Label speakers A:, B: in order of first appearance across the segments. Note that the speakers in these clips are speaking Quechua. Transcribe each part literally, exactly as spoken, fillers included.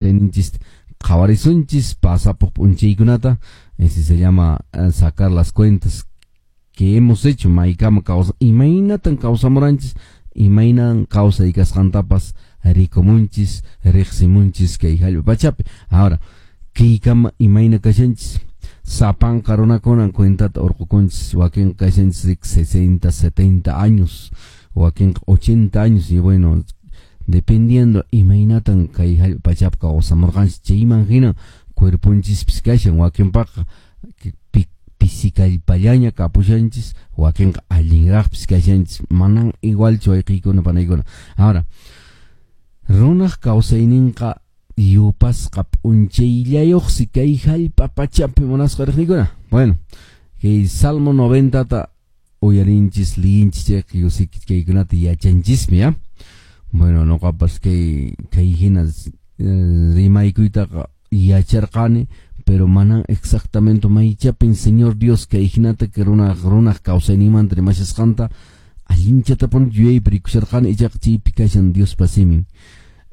A: Ninchis qhawarisunchis pasapuq p'unchaykunata. Ese se llama eh, sacar las cuentas que hemos hecho, maykama kawsa, imaynatan kawsamuranchis, imaynan kawsay kasqantapas rikumunchis, riqsimunchis kay hallp'a pachapi. Ahora, kaykama imayna kashanchis, sapanka runakunan cuentata urqukunchis, wakin kashanchis sesenta, setenta años, wakin ochenta años, y bueno, dependiendo imaynatan kay hallp'a pachapi kawsamurqanchis, chayman hina cuerponchispis kashan, wakinpaqa pisikallpallaña kapushanchis, wakinqa allinraqpis kashanchis, manan igualchu wayqiykuna panaykuna. Ahora, runaq kawsayninqa yupasqa p'unchayllayuqsi kay hallp'a pachapi, munasqa riqniykuna. Bueno, kay Salmo noventata uyarinchis, liyinchis chayqa yusiki kaykunata yachanchismi, ya. Bueno, noqapas kay kay hina rimaykuytaqa yacharqani, pero manan exactamente maychapin Señor Dios kay hinata que runaq runaq kawsayninmanta rimashasqanta allinchatapuni yuyaypi rikusharqani, ichaqa chaypi kashan Diospa simin.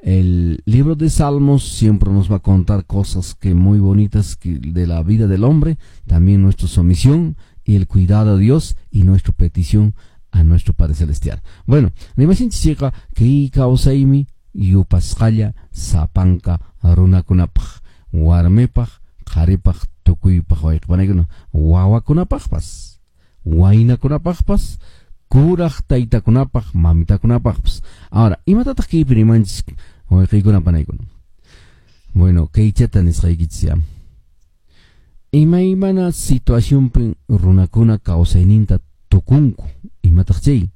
A: El libro de Salmos siempre nos va a contar cosas que muy bonitas que de la vida del hombre, también nuestra sumisión y el cuidado de Dios y nuestra petición a nuestro Padre Celestial. Bueno, rimashinchis chayqa kay kawsaymi yupasqalla sapanka runakunapaq, warmipaq, qharipaq, tukuypaq, wayqipanaykuna, wawakunapaqpas, waynakunapaqpas, kuraq taytakunapaq, mamitakunapaqpas. Ahora, imatataq kaypi rimanchis wayqiykuna panaykuna? Bueno, kaychata nisqaykichis ya. Imaymana situacionpi runakuna kawsayninta tukunku, imataq chay?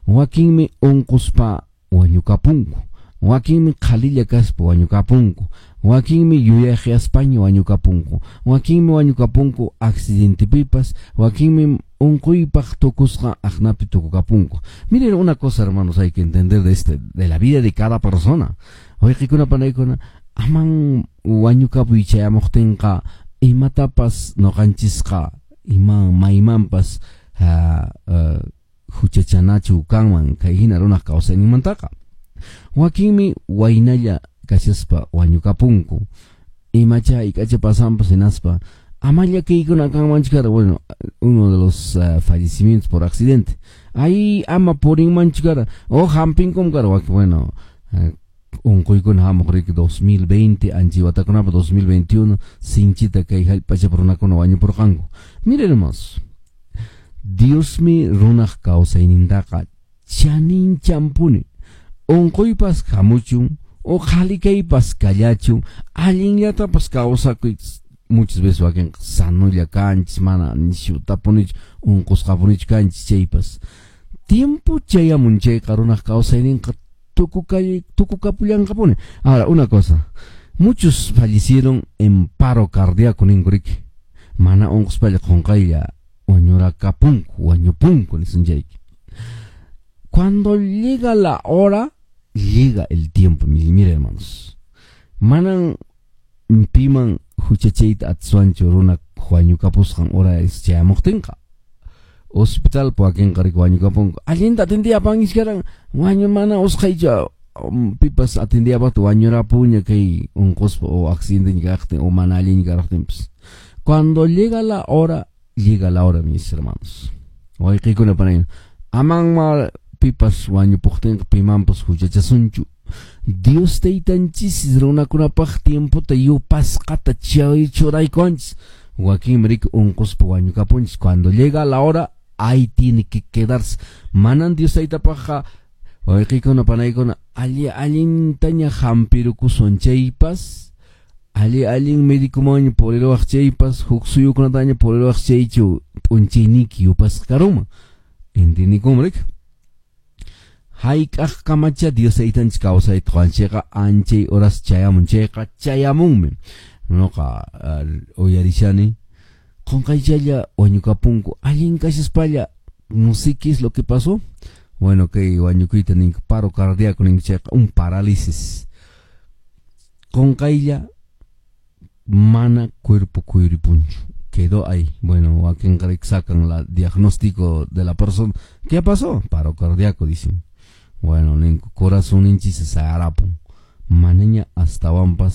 A: Wakinmi unquspa wañukapunku, wakinmi qhalilla kaspa wañukapunku, wakinmi yuyaqyaspaña wañukapunku, wakinmi wañukapunku accidentepipas, wakinmi unquypaq tukusqa aqnapi tukukapunku. Miren una cosa, hermanos, hay que entender de este, de la vida de cada persona. Wayqikuna panaykuna, aman wañukapuy chayamuqtinqa imatapas noqanchisqa ima maymanpas uh, uh, huchachanachu kanman kay hina runaq kawsayninmantaqa. Wakinmi waynalla kashaspa wañukapunku, imacha ikacha pasanpas hinaspa amalla kaykuna kanmanchu kara. Bueno, uno de los uh, fallecimientos por accidente, ahí ama purinmanchu kara o hampinkum kara. Bueno, uh, unquykuna hamuq riki dos mil veinte anchi watakunapa dos mil veintiuno sinchita kay hallp'achapi runakuna wañupurqanku. Miren, hermanos, Diosmi runaq kawsaynintaqa chaninchampuni. Unquypas hamuchun o qhalikaypas kallachun, allinllatapas kawsakuy. Muchas veces wakinqa sanolla kanchis, mana nishutapunichu unqusqapunichu kanchis chaypas. Tiempo chayamun chayqa runaq kawsayninqa tukukapullanqapuni. Ahora, una cosa, muchos fallecieron en paro cardíaco ninku riki. Mana unquspalla qunqaylla wañurakapunku, wañupunku nisunchayki. Cuando llega la hora, llega el tiempo, mire, hermanos. Manan piman huchachayta atiswanchu runa wañukapusqan hora es chayamuqtinqa. Hospital wakinqa riki wañukapunku. Allinta atindiyapanchis karan, wañu mana usqhaychu pipas atindiyapaqta wañurapuña kay unquspa o accidente kaqtin o mana allin kaqtinpas. Cuando llega la hora, llega la hora, mis hermanos. Wayqiykuna panayna, aman pipas wañupuqtinqa pimanpas huchachasunchu. Dios taytanchis runakunapaq tiempota yupasqata chay churaykuanchis. Wakinmi riki unquspa wañukapunchis. Cuando llega la hora, ahí tiene que quedarse. Manan Dios taytapaqqa wayqiykuna panaykuna alli allintaña hampirukusun chaypas, alli allin médicomanña puriruwaq chaypas, huk suyukunataña puriruwaq chaychu p'unchayniyki yupasqa karunman. Entendikun riki? Hayk'aq kamacha Dios taytanchis kawsayta quwanchikqa anchay horas chayamun chayqa chayamunmi. Noqa uh, uyarishani qunqaychalla wañukapunku allin kashaspalla, no sé qué es lo que pasó. Bueno, kay wañukuyta ninku paro cardíaco ninku chayqa un parálisis. Qunqaylla mana cuerpo kuyuripunchu, quedó ahí. Bueno, wakinqa riki sacan la diagnóstico de la persona. ¿Qué pasó? Paro cardíaco, dicen. Bueno, ninku corazón ninchis se sarapun. manaña astawanpas